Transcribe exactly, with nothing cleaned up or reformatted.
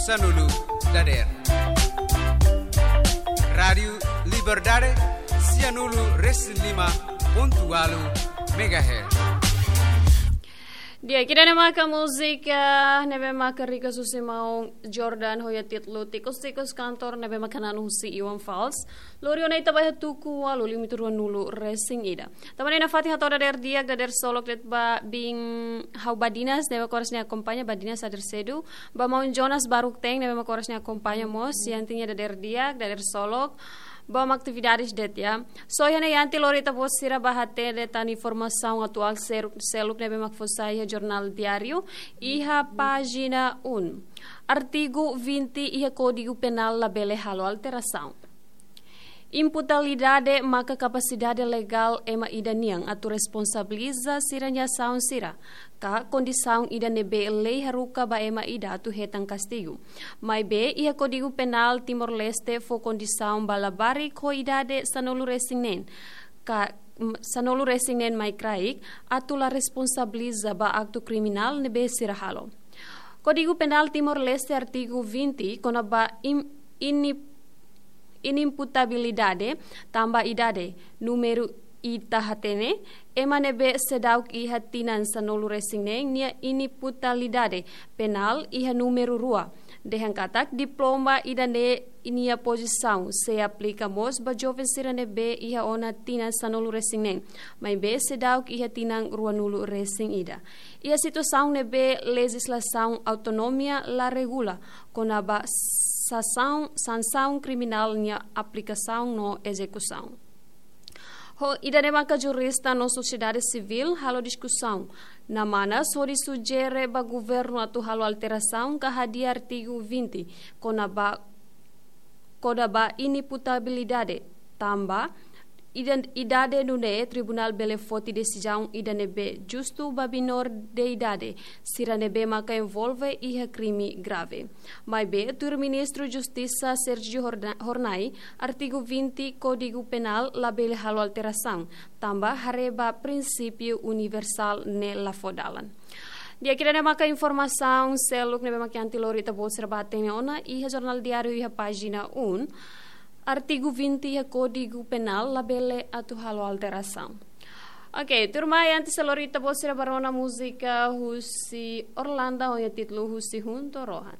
Sanulu dadeer. Rádiu Liberdade, sianulu resin lima pontu ualu megahertz. Di'ak, ida-ne'e maka múzika ne'ebé maka rikas husi maun Jordan ho iha títulu Tikus-Tikus Kantor ne'ebé maka na'an husi Iwan Fals. Lori ona ita ba iha tuku ualu limitu ruanulu resin ida. Tanba ne'e nafatin hato'o dadeer di'ak, dadeer solok de'it ba biin ha'u Badinas, ne'ebé oras ne'e akompaña, Badinas dadeer sedu. Ba maun Jonas Baruk Teng, ne'ebé oras ne'e akompaña mós, Yanti nia dadeer di'ak, dadeer solok. Ba atividades de'it, ya. So, iha ne'e Yanti, lori ita-boot sira ba hatene tan informasaun atuál seluk, seluk ne'ebé mak fó sai iha Jornál Diáriu, iha pájina um. Artigu vinte iha Kódigu Penál labele halo alterasaun. Imputabilidade maka kapasidade legál ema ida nian atu responsabiliza sira-nia asaun sira, ka kondisaun ida ne'ebé lei haruka ba ema ida atu hetan kastigu. Maibé, iha Kódigu Penál Timor-Leste fó kondisaun ba labarik ho idade sanulu resin neen, ka, m-, sanulu resin neen mai kraik, atu la responsabiliza ba aktu kriminál ne'ebé sira halo. Kódigu Penál Timor-Leste artigu vinte, kona-ba im-, ini-, inimputabilidade tanba idade, númeru ita hatene, ema ne'ebé seidauk iha tinan sanulu resin neen nia inimputabilidade penál iha númeru rua. Dehan katak diploma ida-ne'e nia pozisaun sei aplika mós ba joven sira ne'ebé iha ona tinan sanulu resin neen, maibé seidauk iha tinan ruanulu resin ida. Iha situasaun ne'ebé lejizlasaun autonómia la regula, kona-ba sansaun, sansaun kriminál nia aplikasaun no ezekusaun. Ho ida-ne'e maka jurista no sosiedade sivíl halo diskusaun. Namanas hodi sujere ba governu atu halo alterasaun ka hadi'a artigu vinte, kona-ba, kona-ba inimputabilidade, tanba idan-, idade nune'e tribunál bele foti desizaun ida ne'ebé justu ba menór de idade, sira ne'ebé maka envolve iha krime grave. Maibé, tuir Ministru Justisa Sérgio Horna-, Hornai, artigu vinte Kódigu Penál labele halo alterasaun, tanba haree ba prinsípiu universál ne'e la fó dalan. Di'ak, ida-ne'e maka informasaun seluk ne'ebé mak Yanti lori ita-boot sira ba hatene ona iha Jornál Diáriu iha pájina um. Artigu vinte iha Kódigu Penál labele atu halo alterasaun. Oke, tuirmai, antes de lori ita-boot sira ba rona múzika husi Orlando ho nia títulu husi Hunto Rohan.